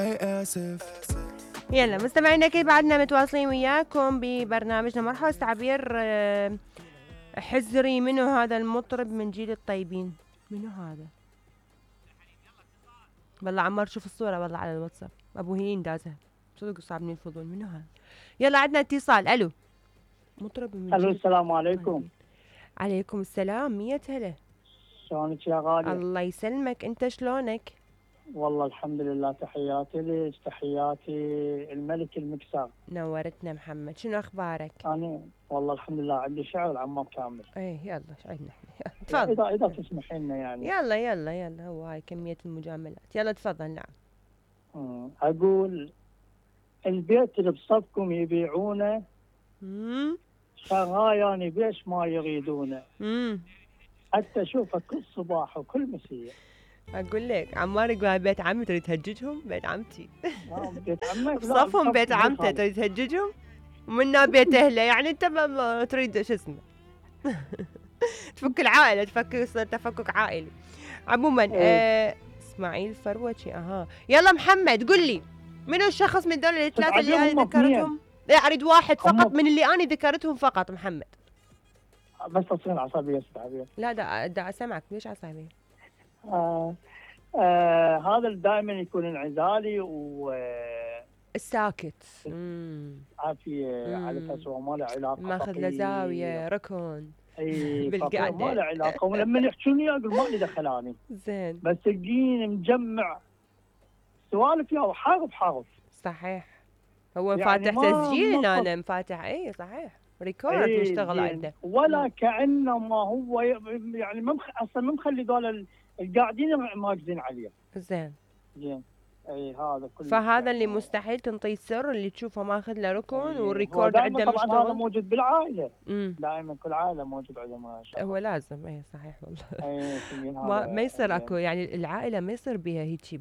آسف. يلا مستمعينا اكيد بعدنا متواصلين وياكم ببرنامجنا مرحبا تعبير حزري. منو هذا المطرب من جيل الطيبين؟ منو هذا؟ والله عمار شوف الصورة والله على الواتساب ابو هيين دازها صدق صعب من الفضول. منو هذا؟ يلا عندنا اتصال. الو مطرب من الو جيل السلام عليكم. عليكم السلام. 100 هلا. شلونك يا غالية؟ الله يسلمك. انت شلونك؟ والله الحمد لله. تحياتي لك، تحياتي الملك المكسر. نورتنا محمد. شنو اخبارك؟ انا والله الحمد لله عندي شعر عمار كامل. ايه يلا ايش عندنا احنا؟ تفضل. اذا تسمحي لنا يعني. يلا هو هاي كمية المجاملات. يلا تفضل. نعم. اقول البيت اللي بصفكم يبيعونه شغاياني بيش ما يريدونه. حتى اشوفه كل صباح وكل مسية. اقول لك عمار يقول بيت عمي تريد تهججهم؟ بيت عمتي. بيت عمك بصفهم بيت عمته تريد تهججهم؟ ومنا بيت اهله يعني انت ما تريد شو اسمه. تفك العائله، يصير تفكك عائلي. عموما اسماعيل فروتشي. يلا محمد قل لي منو الشخص من دول الثلاثه اللي انا ذكرتهم؟ لا اريد واحد فقط من اللي انا ذكرتهم فقط. محمد بس تصير عصبيه استعبيه. لا دا اسمعك. ليش عصبيه؟ هذا دائما يكون انعزالي و الساكت. عافيه على اساس هو ما له علاقه، ماخذ له زاويه ركن. اي بالقعده ما له علاقه. ولما يحكوني اقول ما لي دخل اني. زين. بس تلقيني مجمع سوالف يا حارف. صحيح. هو يعني فاتح تسجيل انا مفاتح. اي صحيح ريكورد يشتغل عنده. ولا كانه ما هو يعني اصلا ما مخلي ذول القاعدين ماكزين عليه. زين. اي هذا كله. فهذا اللي مستحيل تنطيه السر اللي تشوفه ماخذ له ركن والريكورد عنده مشتغل. طبعا هذا موجود بالعائله. دائما كل عائله موجود عندها. هو لازم. اي صحيح والله. ما يصير اكو يعني العائله ما يصير بها هيك